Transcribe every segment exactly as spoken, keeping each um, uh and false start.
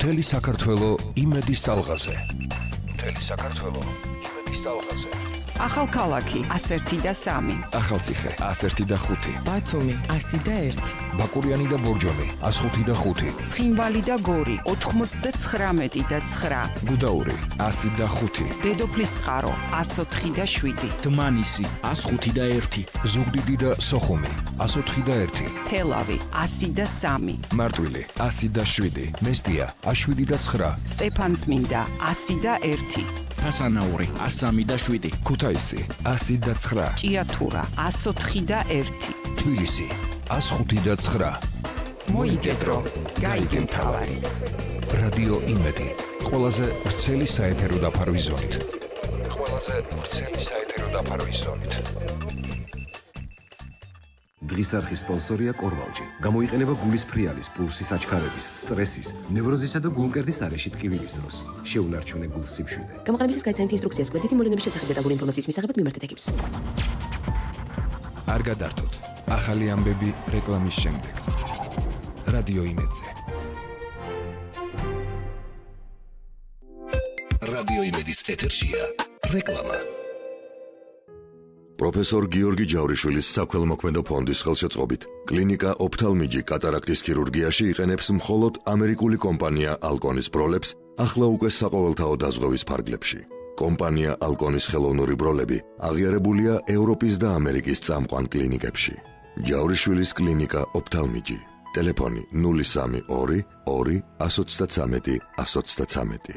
მთელი საქართველო იმედის ტალღაზე. მთელი საქართველო იმედის ტალღაზე. ახალქალაქი ას ერთი და სამი. ახალციხე ას ერთი და ხუთი. ბათუმი ასი და ერთი. ბაკურიანი და ბორჯომი ას ხუთი და ხუთი. ცხინვალი და გორი ოთხმოცდაცხრამეტი და ცხრა. გუდაური ასი და ხუთი. დედოფლის წყარო ას ოთხი და შვიდი. დმანისი ას ხუთი და ერთი. ზუგდიდი და სოხუმი ას ოთხი და ერთი. თელავი ასი და სამი. მარტვილი ასი და შვიდი. მესტია ას შვიდი და ცხრა. სტეფანწმინდა ასი და ერთი. თასანაური ას სამი და შვიდი. ქუთაისი ასი და ცხრა. ჭიათურა ას ოთხი და ერთი. თბილისი ას ხუთი და ცხრა. მოიგედრო გაიგე მთავარი. რადიო იმედი ყველაზე ვრცელი საეთერო დაფარვის ზონით. ყველაზე ვრცელი საეთერო დაფარვის ზონით. დღის არხის სპონსორია კორვალჯი. გამოიყენება გულის ფრიალის, პულსის აჩქარების, სტრესის, ნევროზისა და გულმკერდის არეში ტკივილის დროს. შეუნარჩუნე გულს სიმშვიდე. გამოყენებისას გაიცანეთ ინსტრუქციას კვეთითი მოვლენების შესახებ დეტალური ინფორმაციის მისაღებად მიმართეთ ეკიპს. არ გადართოთ. ახალი ამბები რეკლამის შემდეგ. რადიო იმედზე. რადიო იმედის ეთერშია რეკლამა. პროფესორ გიორგი ჯავრიშვილის საქველმოქმედო ფონდის ხელშეწყობით კლინიკა ოფთალმიჯი კატარაქტის ქირურგიაში იყენებს მხოლოდ ამერიკული კომპანია ალკონის ბროლებს ახლა უკვე საყოველთაო დაზღვევის ფარგლებში. კომპანია ალკონის ხელოვნური ბროლები აღიარებულია ევროპის და ამერიკის წამყვან კლინიკებში. ჯავრიშვილის კლინიკა ოფთალმიჯი. ტელეფონი ნული სამი ორი ორი ას ოცდაცამეტი ას ოცდაცამეტი.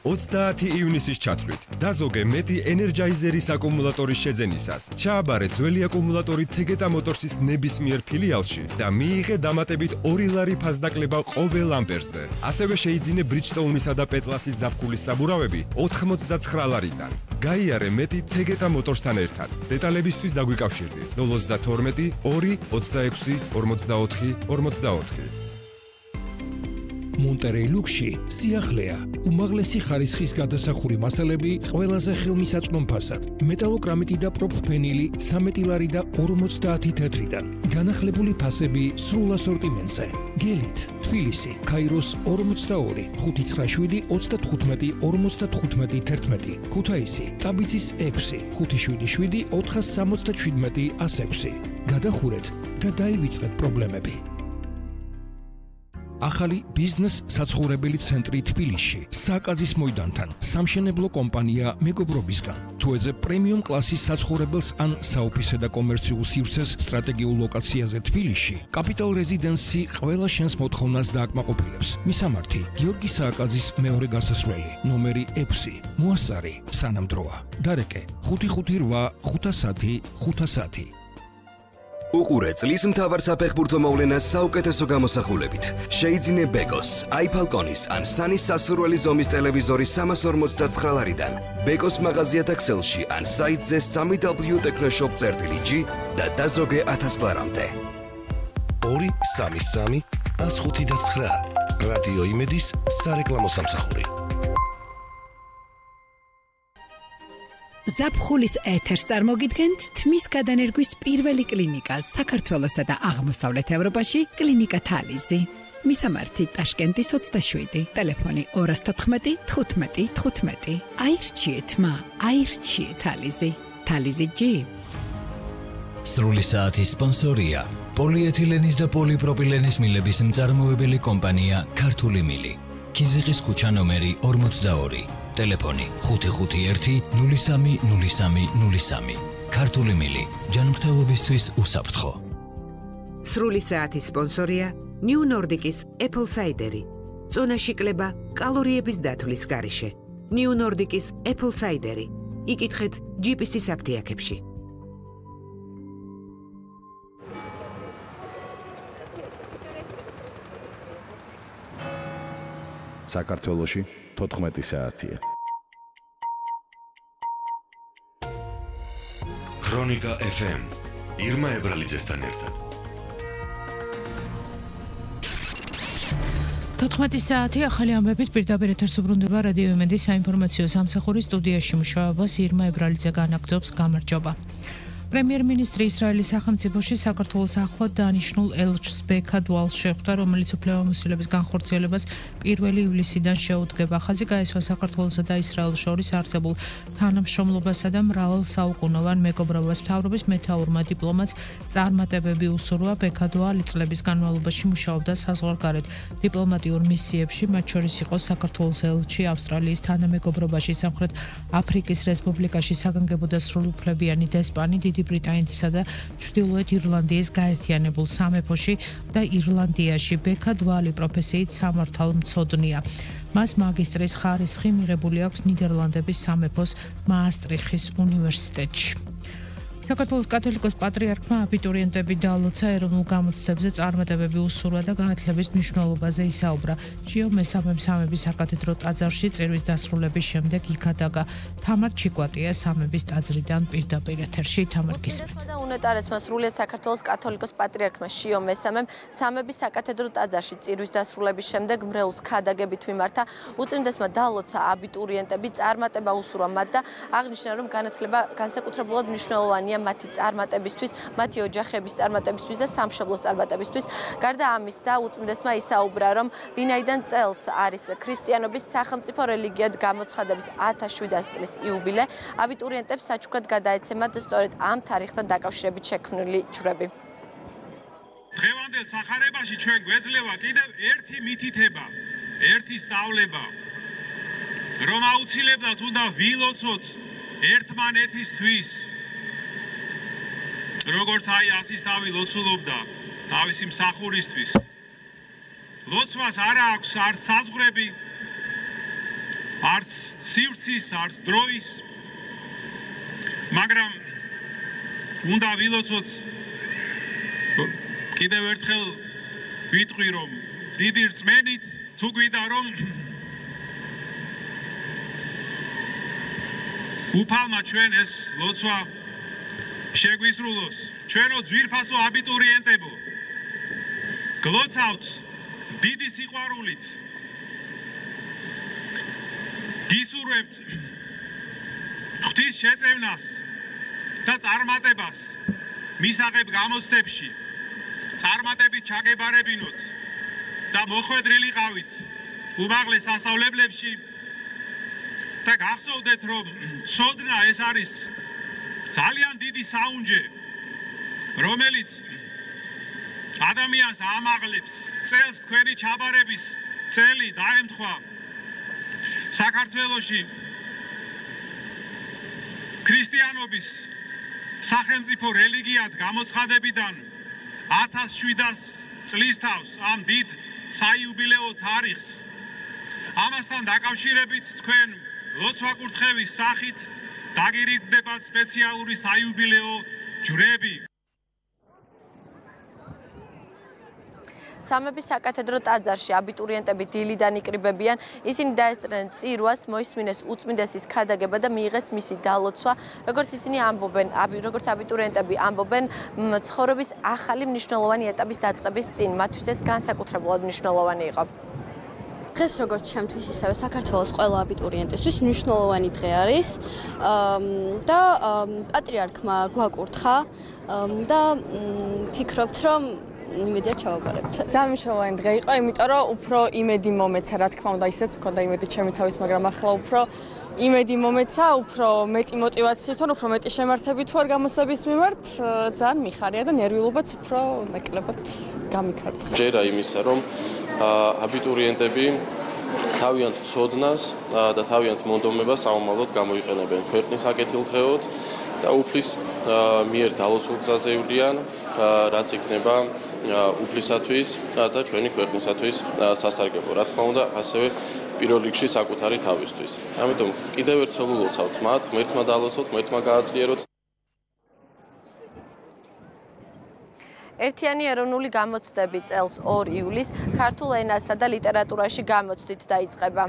ოცდაათი ივნისის ჩათვლით დაზოგე მეტი ენერჯაიზერის აკუმულატორის შეძენისას. ჩააბარე ძველი აკუმულატორი თეგეტა მოტორსის ნებისმიერ ფილიალში და მიიღე დამატებით ორი ლარი ფასდაკლება ყოველ ამპერზე. ასევე შეიძინე ბრიჯსტოუნისა და პეტლასის ზაფხულის საბურავები ოთხმოცდაცხრა ლარიდან. გაიარე მეტი თეგეტა მოტორსთან ერთად. დეტალებისთვის დაგვიკავშირდი ნულ ოცდათორმეტი ორი ოცდაექვსი ორმოცდაოთხი ორმოცდაოთხი. მონტერეი ლუქსში სიახლეა, უმაღლესი ხარისხის გადასახური მასალები ყველაზე ხელმისაწვდომ ფასად. მეტალოკრამიტი და პროფფენილი ცამეტი ლარი და ორმოცდაათი თეთრიდან. განახლებული ფასები სრულ ასორტიმენტზე. გელით, თბილისი, ქაიროს ორმოცდაორი, ხუთი ცხრა შვიდი ოცდათხუთმეტი ორმოცდათხუთმეტი თერთმეტი. ქუთაისი, ტაბიცის ექვსი, ხუთი შვიდი შვიდი ოთხას სამოცდაშვიდმეტი ას ექვსი. გადახურეთ და დაივიწყეთ პრობლემები. ახალი ბიზნეს საცხოვრებელი ცენტრი თბილისში, საკაზის მოედანთან, სამშენებლო კომპანია მეგობრობისგან. თუ ეძებ პრემიუმ კლასის საცხოვრებელს ან საოფისე და კომერციულ სივრცეს სტრატეგიულ ლოკაციაზე თბილისში, კაპიტალ რეზიდენსი ყველა შენს მოთხოვნას დააკმაყოფილებს. მისამართი: გიორგი სააკაძის მეორე გასასვლელი, ნომერი ექვსი, მოასარი, სანამდროა. დარეკე: ხუთი ხუთი რვა ხუთასათი ხუთასათი. უყურე წლის მთავარ საფეხბურთო მოვლენას საუკეთესო გამოსახულებით. შეიძინე ბეკოს, აიფალკონის ან სანის სასურველი ზომის ტელევიზორი სამას ორმოცდაცხრა ლარიდან. ბეკოს მაღაზიათა ქსელში ან საიტზე სამი დაბლიუ ტექნოშოპ წერტილი ჯი და დაზოგე ათას ლარამდე. ორი სამი სამი ას ხუთი და ცხრა. რადიო იმედის სარეკლამო სამსახური. ზაფხულის ეთერს წარმოგიდგენთ თმის გადანერგვის პირველი კლინიკა საქართველოსა და აღმოსავლეთ ევროპაში კლინიკა თალიზი. მისამართი ტაშკენტის ოცდაშვიდი, ტელეფონი ორას თოთხმეტი თხუთმეტი თხუთმეტი. აირჩიეთ მა, აირჩიეთ თალიზი. თალიზი ჯი. სრული საათის სპონსორია პოლიეთილენის და პოლიპროპილენის მილების მწარმოებელი კომპანია ქართული მილი. ქიზიყის ქუჩა ნომერი ორმოცდაორი. ტელეფონი ხუთი ხუთი ერთი ნული სამი ნული სამი ნული სამი. ქართული მილი ჯანმრთელობისთვის უსაფრთხო. სრული საათის სპონსორია ნიუ ნორდიკის Apple Cider-ი. წონაში კლება კალორიების დათვლის გარეშე. ნიუ ნორდიკის Apple Cider-ი. იკითხეთ ჯი პი სი-ის აფთიაქებში. საქართველოში თოთხმეტი საათია. ქრონიკა ეფ ემ ირმა ებრალიძესთან ერთად. თოთხმეტი საათი ახალი ამბებით პირდაპირ ეთერს უბრუნდება რადიო იმედის საინფორმაციო სამსახურის სტუდიაში მუშაობას ირმა ებრალიძე განაგრძობს. გამარჯობა. პრემიერ-მინისტრი ისრაელის სახელმწიფოში საქართველოს ახლად დანიშნულ ელჩს ბექად ვალს შეხვდა, რომელიც უფლებამოსილების განხორციელებას პირველი ივლისიდან შეუდგება. ხაზი გაესვა საქართველოსა და ისრაელს შორის არსებულ თანამშრომლობასა და მრავალ საუკუნოვან მეგობრობას. მთავრობის მეთაურმა დიპლომატს წარმატებები უსურვა. ბექად ვალი წლების განმავლობაში მუშაობდა საზღვარგარეთ დიპლომატიურ მისიებში, მათ შორის იყო საქართველოს ელჩი ავსტრალიის თანამეგობრობაში, სამხრეთ აფრიკის რესპუბლიკაში, საგანგებო და სრულუფლებიანი დესპანი, დიდი ბრიტანეთისა და ჩრდილოეთ ირლანდიის გაერთიანებულ სამეფოში და ირლანდიაში. ბექად ვალი პროფესიით სამართალმცოდნეა. მას მაგისტრის ხარისხი მიღებული აქვს ნიდერლანდების სამეფოს მაასტრიხის უნივერსიტეტში. საქართველოს კათოლიკოს პატრიარქმა აბიტურიენტები დაალოცა ეროვნულ გამოცდებზე წარმატებები უსურვა და განათლების მნიშვნელობაზე ისაუბრა. ჟიო მესამე სამების საკათედრო ტაძარში წირვის დასრულების შემდეგ იქადაგა. თამარ ჩიკვატია სამების ტაძრიდან პირდაპირ ეთერში. თამარ გისმენთ. უნეტარესმა სრულიად საქართველოს კათოლიკოს პატრიარქმა ჟიო მესამემ სამების საკათედრო ტაძარში წირვის დასრულების შემდეგ მრევლს ქადაგებით მიმართა. უწმინდესმა დაალოცა აბიტურიენტები წარმატება უსურვა მათ და აღნიშნა, რომ განათლება განსაკუთრებულად მნიშვნელოვანია მათი წარმატებისთვის, მათი ოჯახების წარმატებისთვის და სამშობლოს წარმატებისთვის. გარდა ამისა, უწმინდესმა ისაუბრა, რომ ვინაიდან წელს არის ქრისტიანობის სახელმწიფო რელიგიად გამოცხადების ათას შვიდასი წლის იუბილე, აბიტურიენტებს საჩუქრად გადაეცემათ სწორედ ამ თარიღთან დაკავშირებით შექმნილი ჯვრები. დღევანდელ სახარებაში ჩვენ გვეძლევა კიდევ ერთი მითითება, ერთი სწავლება, რომ აუცილებლად უნდა ვილოცოთ ერთმანეთისთვის. როგორც აი ასისთავი ლოცულობდა თავისი მსახურისთვის. ლოცვას არ აქვს არც საზღვრები, არც სივრცის, არც დროის, მაგრამ უნდა ვილოცოთ. კიდევ ერთხელ ვიტყვი, რომ დიდი რწმენით თუ გვიდა, რომ უფალმა ჩვენ ეს ლოცვა შეგვისრულოს. ჩვენო ძვირფასო აბიტურიენტებო, გლოცავთ დიდი სიყვარულით. გისურვებთ ღვთის შეწევნას და წარმატებას მისაღებ გამოცდებში. წარმატებით ჩაგებარებინოთ და მოხვედრილიყავით უმაღლეს სასწავლებლებში და გახსოვდეთ, რომ ცოდნა ეს არის ძალიან დიდი საუნჯე, რომელიც ადამიანს ამაღლებს. წელს თქვენი ჩაბარების წელი დაემთხვა საქართველოში ქრისტიანობის სახელმწიფო რელიგიად გამოცხადებიდან ათას შვიდასი წლის თავს ამ დიდ საიუბილეო თარიღს. ამასთან დაკავშირებით თქვენ ლოცვა-კურთხევის სახით დაგირიგდებათ სპეციალური საიუბილეო ჯვრები. სამების საკათედრო ტაძარში აბიტურიენტები დილიდან იკრიბებიან. ისინი დაესწრნენ წირვას, მოისმინეს უწმინდესის ქადაგება და მიიღეს მისი დალოცვა. როგორც ისინი ამბობენ, როგორც აბიტურიენტები ამბობენ, ცხოვრების ახალი მნიშვნელოვანი ეტაპის დაწყების წინ მათთვის ეს განსაკუთრებულად მნიშვნელოვანი იყო. დღეს როგორც ჩემთვის, ისევე საქართველოს ყველა აბიტურიენტისთვის მნიშვნელოვანი დღე არის და პატრიარქმა გვაკურთხა და ფიქრობთ, რომ იმედია ჩავაბარებთ. ძალიან მნიშვნელოვანი დღე იყო, იმიტომ რომ უფრო იმედი მომეცა, რა თქმა უნდა, ისეც მქონდა იმედი ჩემი თავის, მაგრამ ახლა უფრო იმედი მომეცა, უფრო მეტი мотиваციით, უფრო მეტი შემართებით ვარ გამოსების მიმართ, ძალიან მიხარია და ნერვიულობაც უფრო ნაკლებად გამიქარწყა. ჯერა იმისა, რომ აბიტურიენტები თავიანთ ცოდნას და თავიანთ მონდომებას საომალოდ გამოიყენებენ ქვეყნის აკეთილდღეოდ და უფლის მიერ დალოცულ გზაზე ივლიან, რაც იქნება უფლისათვის და ჩვენი ქვეყნისათვის სასარგებლო. რა თქმა უნდა, ასევე პირველ რიგში საკუთარი თავისთვის. ამიტომ კიდევ ერთხელ ულოცავთ მათ, ღმერთმა დალოცოთ, ღმერთმა გააძლიეროთ. ერთიანი ეროვნული გამოცდები წელს ორ ივლისს ქართულ ენასა და ლიტერატურაში გამოცდით დაიწყება.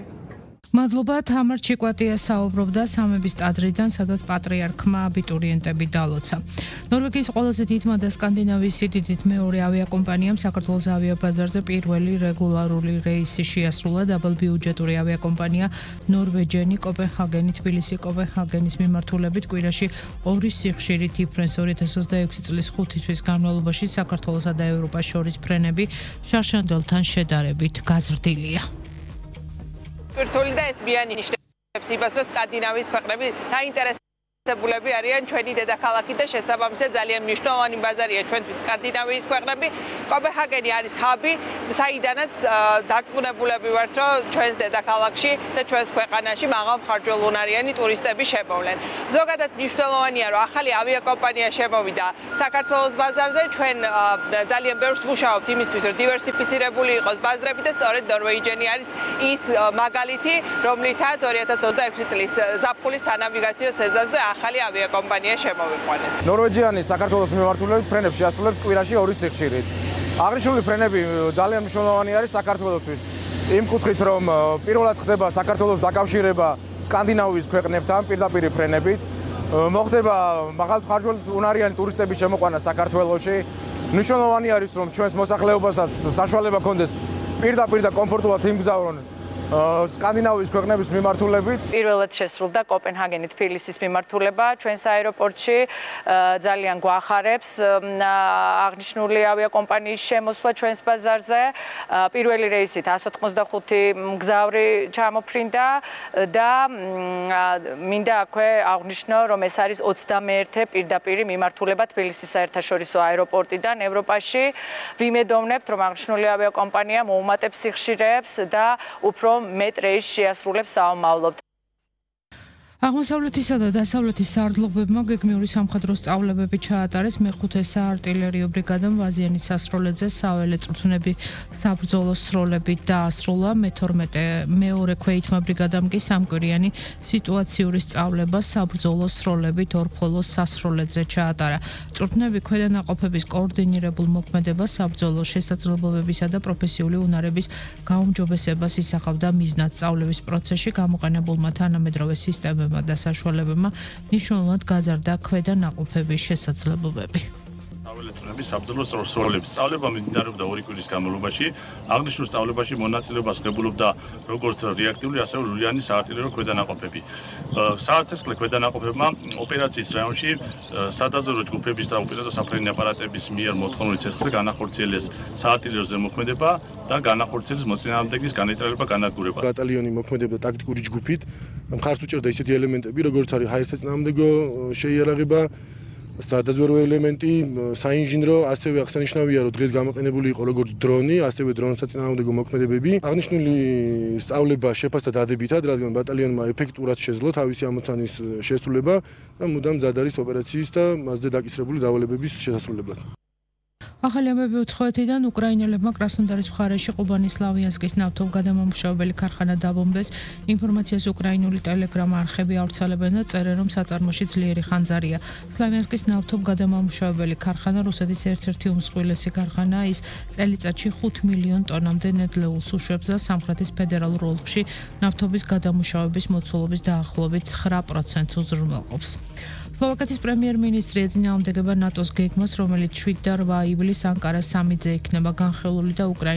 მადლობა თამარ ჩიკვატია საუბრობდა სამების ტაძრიდან, სადაც პატრიარქმა აბიტურიენტები დალოცა. ნორვეგიის ყველაზე დიდმა და სკანდინავიის სიდიდით მეორე ავიაკომპანიამ საქართველოს ავიაბაზარზე პირველი რეგულარული რეისი შეასრულა. დაბალბიუჯეტური ავიაკომპანია ნორვეჯენი კოპენჰაგენი თბილისი კოპენჰაგენის მიმართულებით კვირაში ორი სიხშირით იფრენს. ორი ათას ოცდაექვსი წლის ხუთი თვის განმავლობაში საქართველოსა და ევროპას შორის ფრენები შარშანდელთან შედარებით გაზრდილია. Virtually და ეს მიანიშნებს იმას, რომ სკანდინავიის ქვეყნები დაინტერესებულები არიან ჩვენი დედაქალაქით და შესაბამისად ძალიან მნიშვნელოვანი ბაზარია ჩვენთვის სკანდინავიის ქვეყნები. კოპენჰაგენი არის ჰაბი, საიდანაც დარწმუნებულები ვართ, რომ ჩვენს დედაქალაქში და ჩვენს ქვეყანაში მაღალმხარჯველუნარიანი ტურისტები შემოვლენ. ზოგადად მნიშვნელოვანია, რომ ახალი ავიაკომპანია შემოვიდა საქართველოს ბაზარზე. ჩვენ ძალიან ბევრს მუშაობთ იმისთვის, რომ დივერსიფიცირებული იყოს ბაზრები და სწორედ ნორვეჯენი არის ის მაგალითი, რომლითაც ორი ათას ოცდაექვსი წლის ზაფხულის სანავიგაციო სეზონზე ახალი ავიაკომპანია შემოვიყვანეთ. ნორვეჯიანი საქართველოს მიმართულებით ფრენებს შეასრულებს კვირაში ორი სიხშირით. აღნიშნული ფრენები ძალიან მნიშვნელოვანი არის საქართველოსთვის. იმ კუთხით, რომ პირველად ხდება საქართველოს დაკავშირება სკანდინავიის ქვეყნებთან პირდაპირ ფრენებით, მოხდება მაღალმხარჯველუნარიანი ტურისტების შემოყვანა საქართველოში. მნიშვნელოვანი არის, რომ ჩვენს მოსახლეობასაც საშუალება ჰქონდეს პირდაპირ და კომფორტულად იმგზავრონ სკანდინავიის ქვეყნების მიმართულებით. პირველად შესრულდა კოპენჰაგენი თბილისის მიმართულება ჩვენს აეროპორტში. ძალიან გვახარებს აღნიშნული ავიაკომპანიის შემოსვლა ჩვენს ბაზარზე. პირველი რეისით εκατს ოცდახუთი მგზავრი ჩამოფრინდა და მინდა აქვე აღვნიშნო, რომ ეს არის ოცდამეერთე პირდაპირი მიმართულება თბილისის საერთაშორისო აეროპორტიდან ევროპაში. ვიმედოვნებთ, რომ აღნიშნული ავიაკომპანია მოუმატებს სიხშირეებს და უფრო მეტ რეისს შეასრულებს საომავლოდ. აღმოსავლეთისა და დასავლეთის სარდლობებმა გეგმიური სამხედრო სწავლებები ჩაატარეს. მეხუთე საარტილერიო ბრიგადამ ვაზიანის სასროლედზე საველე წვრთნები საბრძოლო სროლებით დაასრულა. მეთორმეტე მეორე ქვეითმა ბრიგადამ კი სამკვირიანი სიტუაციური სწავლება საბრძოლო სროლებით ორფოლოს სასროლედზე ჩაატარა. წვრთნები ქვედანაყოფების კოორდინირებულ მოქმედებას, საბრძოლო შესაძლებლობებისა და პროფესიული უნარების გაუმჯობესებას ისახავდა მიზნად სწავლების პროცესში გამოყენებულმა თანამედროვე სისტემებმა და საშუალებებმა მნიშვნელოვნად გაზარდა ქვედანაყოფების შესაძლებლობები. სწავლების საბრძოლო სროლების სწავლება მიმდინარეობდა ორი კვირის განმავლობაში. აღნიშნულ სწავლებაში მონაწილეობას ღებულობდა როგორც რეაქტიული, ასევე ლურიანი საარტილერიო ქვედანაყოფები. საერთაშორისო ქვედანაყოფებმა ოპერაციის რაიონში სადაზვერვო ჯგუფების და უპირატო საფრენი აპარატების მიერ მოთხოვნილი ცეცხლზე განახორციელეს საარტილერიო ზემოქმედება და განახორციელეს მოწინააღმდეგის განეტრალება განადგურება. ბატალიონი მოქმედებდა ტაქტიკური ჯგუფით. მხარს უჭერდა ისეთი ელემენტები, როგორც არის ჰაერის საწინააღმდეგო შეიარაღება, სადაზვერვო ელემენტი, საინჟინრო, ასევე აღსანიშნავია, რომ დღეს გამოყენებული იყო როგორც დრონი, ასევე დრონის საწინააღმდეგო მოქმედებები. აღნიშნული სწავლება შეფასდა დადებითად, რადგან ბატალიონმა ეფექტურად შეძლო თავისი ამოცანის შესრულება და მუდამ მზად არის ოპერაციის და მასზე დაკისრებული დავალებების შესასრულებლად. ახალი ამბები უცხოეთიდან უკრაინელებმა კრასნოდარის მხარეში ყუბანის სლავიანსკის ნავთობგადამამუშავებელი ქარხანა დაბომბეს. ინფორმაციას უკრაინული ტელეგრამ არხები ავრცელებენ და წერენ, რომ საწარმოში ძლიერი ხანძარია. სლავიანსკის ნავთობგადამამუშავებელი ქარხანა რუსეთის ერთ-ერთი უმსხვილესი ქარხანაა. ის წელიწადში ხუთ მილიონ ტონამდე ნედლეულს უშვებს და სამხრეთის ფედერალურ ოლქში ნავთობის გადამუშავების მოცულობის დაახლოებით ცხრა პროცენტს უზრუნველყოფს. სლოვაკეთის პრემიერ-მინისტრი ეწინააღმდეგება ნატოს გეგმას, რომელიც შვიდ და რვა ივლისს ანკარას სამიძე იქნება განხილული და უკრაინის